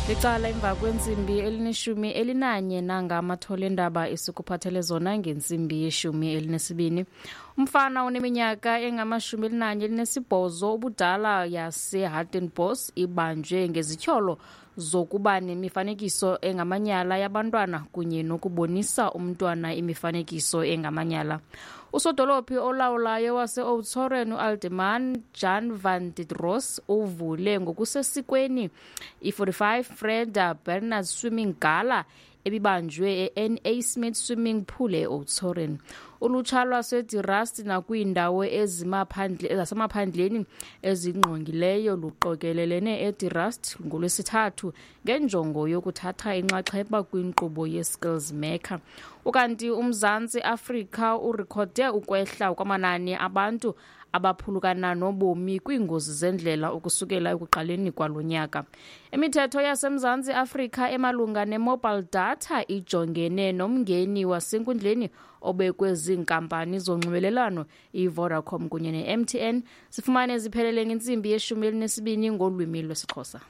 Licala emva kwentsimbi elineshumi elinanye nangamathole endaba esikuphathele zona ngentsimbi yeshumi elinesibini. Umfana oneminyaka engamashumi elinanye elinesibhozo ubudala yaseHartenbos ibanjwe ngezityholo zokuba nemifanekiso engamanyala yabantwana kunye nokubonisa umntwana imifanekiso engamanyala. Usodolophi olawulayo wase-Oudtshoorn uAlderman Jan van der Roos uvule ngokusesikweni i-45 Freda Bernard Swimming Gala ebibanjwe e-NA Smith Swimming Pool e-Oudtshoorn. Ulutsha lwaseDirust nakwiindawo ezasemaphandleni ezingqongileyo luqokelelene eDirust ngoLwesithathu ngenjongo yokuthatha inxaxheba kwinkqubo ye-Skills Maker. Ukanti uMzantsi Afrika urekhode ukwehla kwamanani abantu abaphulukana nobomi kwiingozi zendlela ukusukela ekuqaleni kwalo nyaka. Imithetho yaseMzantsi Afrika emalunga ne-mobile data ijongene nomngeni wasenkundleni obekwe ziinkampani zonxibelelwano iVodacom kunye ne-MTN. Sifumane ziphelele ngentsimbi yeshumi elinesibini ngolwimi lwesiXhosa.